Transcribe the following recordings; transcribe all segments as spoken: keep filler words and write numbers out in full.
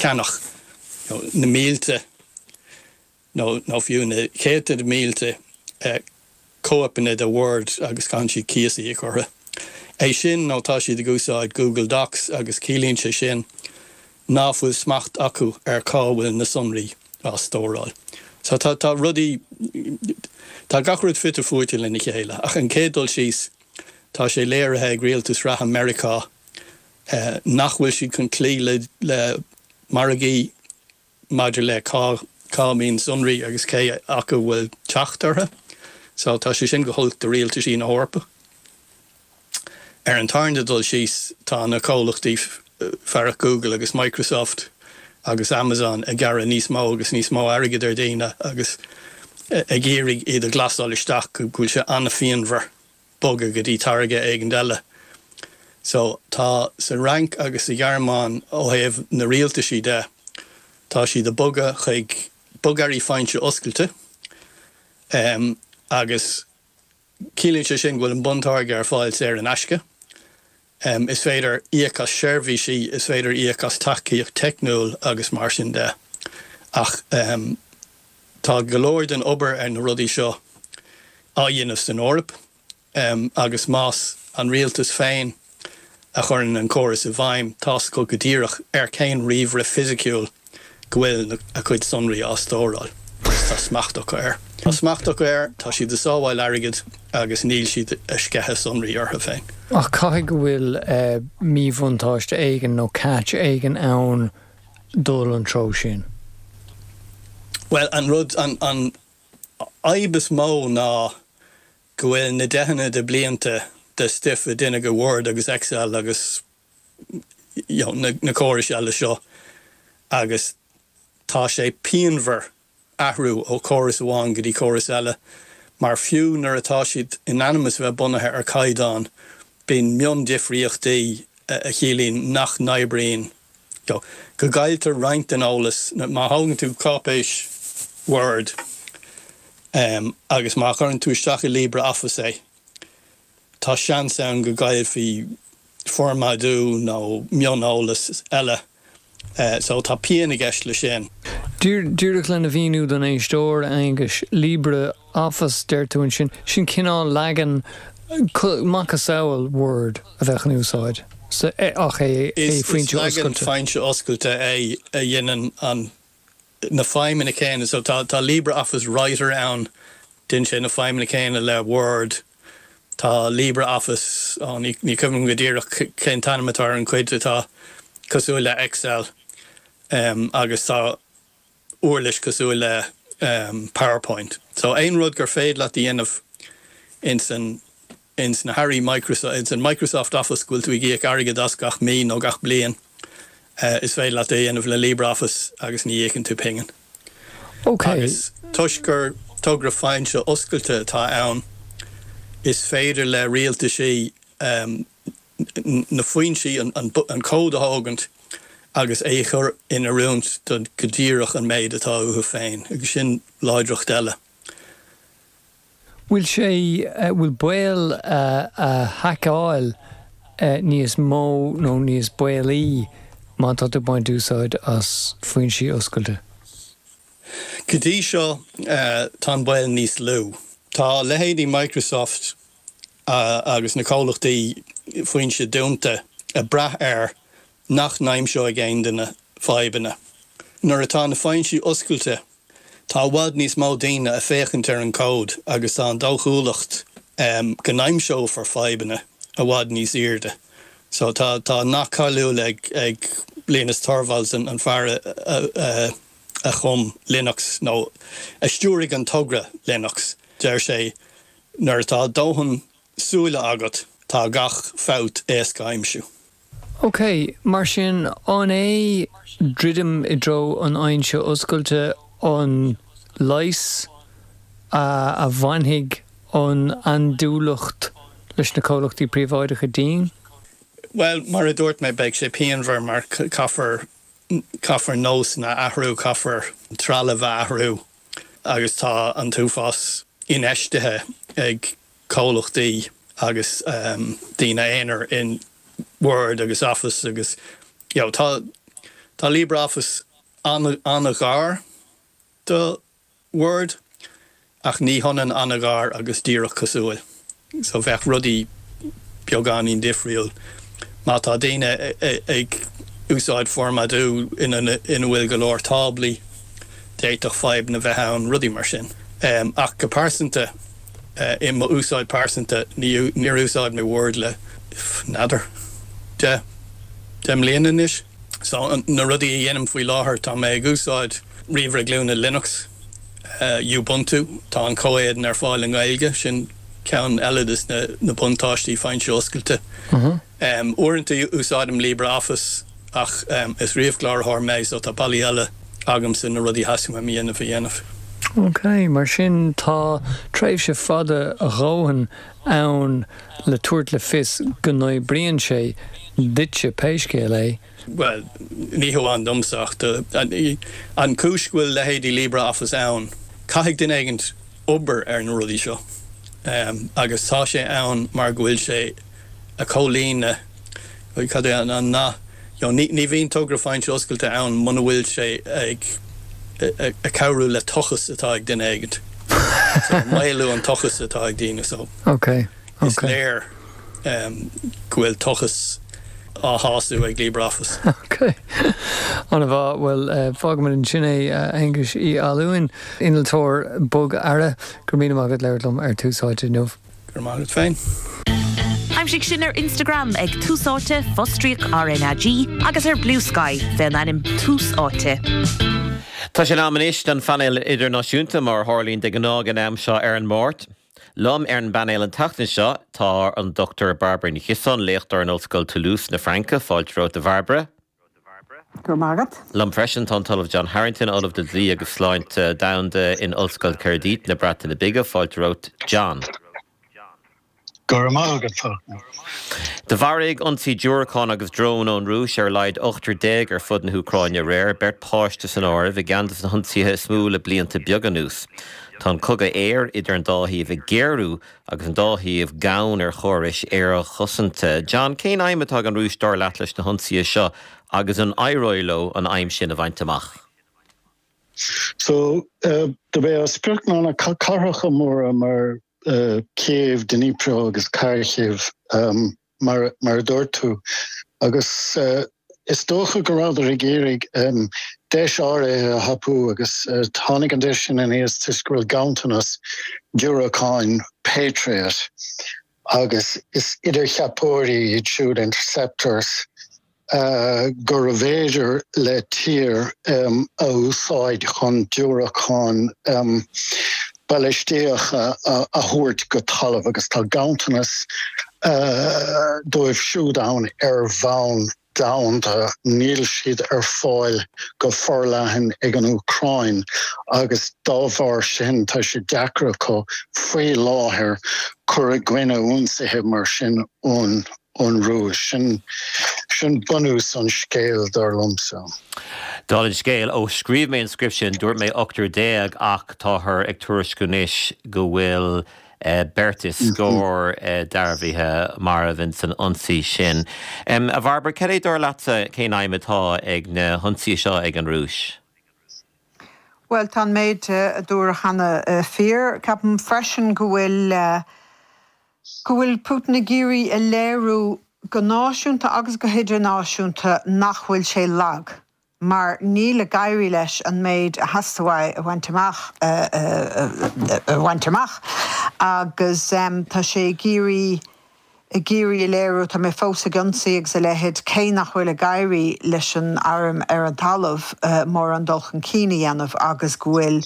Ceannach na mílte nó nó fiú na céadta de mílte eh, cóipeanna de Word agus gan siad cíos a íoc orthu. É sin nó tá siad ag úsáid Google Docs agus ciallaíonn sé sin ná fuil smacht acu ar cá bhfuil na sonraí á stóráil. So tá tá rudaí tá gach rud fite fuaite lena chéile, ach an chéad dul síos tá sé léirithe ag rialtas reatha Meiriceá eh, nach bhfuil siad chun cloí le le margaí maidir le cá cá mbíonn sonraí agus cé acu bhfuil teacht orthu. So tá sé sin go holc do rialtaisí na hEorpa. Ar an tarna dul síos tá na comhlachtaí fearacht Google agus Microsoft agus Amazon ag gearradh níos mó agus níos mó airgid ar daoine agus ag iarraidh iad a ghlasáil isteach go bhfuil sé an-phianmhar bogadh go dtí táirge éigin eile. So tá sa Fhrainc agus sa Ghearmáin ó thaobh na rialtaisí de tá siad ag bogadh chuig bogearraí foinse oscailte um, agus ciallaíonn sé sin bhfuil an buntáirge ar fáil saor in aisce. Um, is féidir íoc as seirbhísí is féidir íoc as tacaíocht teicniúil agus mar sin de. Ach um, tá go leor den obair ar na rudaí seo á dhéanamh san Eoraip um, agus más an rialtas féin a chuireann an córas i bhfeidhm tá go go díreach ar cén ríomhaire fisiciúil go bhfuil a cuid sonraí á stóráil. Tá smacht acu air. Tá smacht acu air tá siad ag sábháil airgid agus níl siad ag sceitheadh sonraí orthu féin. Ach caithfidh go bhfuil uh, míbhuntáiste éigin nó catch éigin ann dul an treo sin. Well an rud an an fhadhb is mó ná go bhfuil na deicheanna de blianta de stuif a deineadh go Word agus Excel agus you know, na, na córais eile seo agus tá sé pianmhar athrú ó chóras amháin go dtí córas eile, mar fiú nuair atá siad in ainm is bheith bunaithe ar caighdeán bíonn miondifríochtaí a chiallaíonn nach n-oibríonn. Go gcailltear roinnt den eolas má thógann tú cáipéis Word um, agus má chuireann tú isteach i LibreOffice é. Tá seans ann go gcaillfí formáidiú nó mioneolas eile. Uh, so tá pian i gceist le sin. Díreach lena mhíniú don éisteoir Aengus LibreOffice deir tú ansin sin cineál leagan macasamhail Word a bheith in úsáid. ach é foinse oscailte foinse oscailte é a dhéanann an na feidhmeanna céanna so tá tá LibreOffice Writer ann déanann sé na feidhmeanna céanna le Word tá LibreOffice oh, ní ní cuimhin go díreach cén t-ainm atá an chuid atá cosúil le Excel um, agus tá uirlis cosúil le um, PowerPoint. So aon rud gur féidir leat a dhéanamh ins an ins na Harry Microsoft ins an Microsoft Office go bhfuil tú ag íoc airgead as gach mí nó gach bliain uh, is féidir leat é dhéanamh le LibreOffice agus ní íocann tú pingin. Ok. Agus toisc gur togra foinse oscailte atá ann is féidir le rialtaisí um, na foinsí an, an, an cód a thógaint agus é chur in oiriúint don go díreach an méid atá uathu féin, agus sin láidreacht eile. Bhfuil sé bhfuil baol a haiceáil níos mó nó níos baolaí má tá tú baint úsáid as foinsí oscailte? Go dtí seo tá an baol níos lú. Tá leithéidí Microsoft uh, agus na comhlachtaí foinse dúnta ag brath air nach n-aimseoidh aon duine fadhbanna. Nuair atá na foinsí oscailte, tá i bhfad níos mó daoine ag féachaint ar an cód agus tá an dóchúlacht um, go n-aimseofar fadhbanna i bhfad níos airde. So tá tá nath cáiliúil ag ag Linus Torvalds an, an fear a, a, a, a chum Linux nó a stiúraigh an togra Linux. Deir sé nuair atá dóthain súile agat tá gach fabht éasca a aimsiú. Ok, mar sin an é druidim i dtreo an fhoinse oscailte an leigheas a, a bhainfidh an andúileacht leis na comhlachtaí príobháideacha dínn? Well, mar a dúirt mé beidh sé pianmhar mar caithfear caithfear nósanna a athrú caithfear trealamh a athrú agus tá an t-uafás infheistithe ag comhlachtaí agus um, daoine aonair in Word agus Office agus you know, tá Tá LibreOffice an-ghar do Word ach ní hionann an-ghar agus díreach cosúil. So bheadh rudaí beagáinín difriúil. Má tá daoine ag úsáid formáidí ina ina bhfuil go leor táblaí d'fhéadfadh fadhb a bheith ann rudaí mar sin. Um, ach go pearsanta uh, i mo úsáid pearsanta níor úsáid mé Word le n'fheadar de deich mbliana anois. So na rudaí a dhéanaim faoi láthair tá mé ag úsáid ríomhaire glúine Linux uh, Ubuntu tá an comhéadan ar fáil i nGaeilge sin ceann eile de na, na buntáistí foinse oscailte. Uh -huh. um, Uaireanta úsáidim LibreOffice ach um, is ríomhchláraitheoir mé so tá bealaí eile agamsa na rudaí a theastaíonn uaim a dhéanamh a dhéanamh. Ok, mar sin tá tréimhse fada a dhóthain ann le tabhairt le fios go n-oibríonn sé duitse pé scéal é. Well, ní hamháin domsa ach an chúis go bhfuil leithéidí LibreOffice ann, caithfidh duine éigin obair ar na rudaí seo. Um, agus tá sé ann mar go bhfuil sé ag comhlíonadh cad é an na ní, ní bhíonn togra foinse oscailte ann muna bhfuil sé ag ag cabhrú le tochas atá ag duine éigin. So, maolú an tochas atá ag daoine so. Okay. Is léir um, go bhfuil tochas á shású ag LibreOffice. Ok. An-mhaith bhuel uh, fágfaimid ansin é uh, Aengus Uí Fhallúin innealtóir bogearra go raibh míle maith agat labhairt liom ar Tús Áite inniu. Gur mágad féin. Aimsigh sinn ar Instagram ag Tús Áite fostríoc RnaG agus ar Bluesky fén ainm Tús Áite. Tá sé am anois don phainéal idirnáisiúnta mar a tharlaíonn de ghnáth an am seo ar an Máirt. Liom ar an bpainéal an tseachtain seo tá an Dr Barbara Ní Chiosáin léachtóir in Ollscoil Toulouse na Fraince fáilte romhat a Bharbara. Gur mágad? Liom freisin tá an tOllamh John Harrington Ollamh de Dlí agus Sláinte Domhanda in Ollscoil Caerdydd na Breataine Bige fáilte romhat John. Gur mágad Mharaigh ionsaí diúracán agus drón ón Rúis ar a laghad ochtar déag ar fud na hÚcráine aréir beirt pháiste san áireamh i gceann de na hionsaithe is mó le blianta beaga anuas. Tá an cogadh aeir idir an dá thaobh ag géarú agus an dá thaobh gann ar chórais aerchosanta. John cén aidhm atá ag an Rúis dar leat leis na hionsaithe seo agus an éireoidh leo an aidhm sin a bhaint amach. So uh, do b'é a sprioc ná na cathracha móra mar uh, Kiev, Dnipro agus Kharkiv um, mar, mar a dúirt tú agus uh, is dócha go rabhadar ag iarraidh um, deis áirithe a thapú agus uh, tháinig an deis sin aníos toisc go bhfuil ganntanas diúracáin Patriot agus is idircheapóirí iad siúd interceptors uh, gur féidir le tír um, a úsáid chun diúracáin um, ballistíocha a, a thabhairt go talamh agus tá ganntanas uh, dóibh siúd ann ar bhonn domhanda níl siad ar fáil go forleathan ag an Úcráin agus dá bharr sin tá sé deacair acu faoi láthair cur i gcoinne ionsaithe mar sin ón ón Rúis sin sin bunús an scéil dar liomsa. Dála an scéil ó scríobh mé an script sin dúirt mé ochtar déag ach táthar ag tuairisciú anois go bhfuil uh, beirt is scór uh, dearbhaithe marbh san ionsaí sin. Um, a Bharbara cad é dar leatsa cén aidhm atá ag na hionsaithe seo ag an Rúis. Well tá méid a dúradh cheana fíor, Ceapaim freisin go bhfuil uh, go bhfuil Putin ag iarraidh a léiriú go náisiúnta agus go hidirnáisiúnta nach bhfuil sé lag. Mar níl ag éirí leis an méid a theastaigh a bhaint amach a bhaint amach agus um, tá sé ag iarraidh ag iarraidh a léiriú tá mé fós ag ionsaí agus a leithéid cé nach bhfuil ag éirí leis an arm ar an talamh uh, mór an dul chun cinn a dhéanamh agus go bhfuil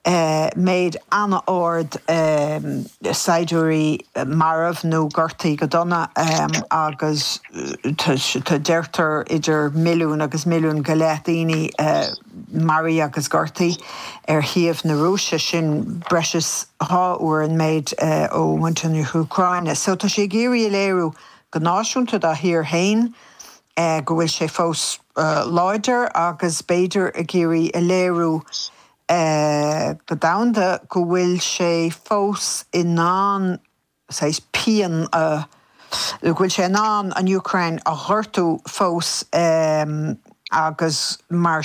Uh, méid an-ard um, saighdiúirí marbh nó gortaithe go dona um, agus tá deirtear idir milliún agus milliún go leith daoine uh, maraithe agus gortaithe ar thaobh na Rúise sin breis is dhá uair an méid uh, ó mhuintir na hÚcráine. So tá sé ag iarraidh a léiriú go náisiúnta dá thír féin uh, go bhfuil sé fós uh, láidir agus b'fhéidir ag iarraidh a léiriú Uh, go domhanda go bhfuil sé fós in ann pian uh, go bhfuil sé in ann an Úcráin a ghortú fós um, agus mar